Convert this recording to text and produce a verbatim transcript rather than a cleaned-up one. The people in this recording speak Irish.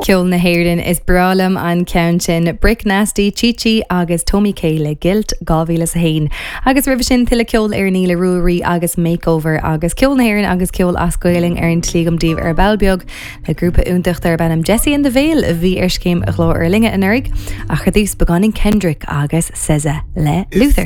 Ceol na hÉireann is breá liom an ceann sin Brick Nasty Chichi agus Tommy K le Guilt dhá mhíle a haon. Agus roimhe sin tuilleadh ceoil ar ní le Ruairí agus Makeover agus ceol na hÉireann agus ceol as Gaeilge ar an tslí agam daoibh ar ball beag le grúpa iontach darb ainm Jesse and the Veil a bhí ar scéim Ghlór na Linne anuraidh ach ar dtús beagáinín Kendrick agus SZA le Luther.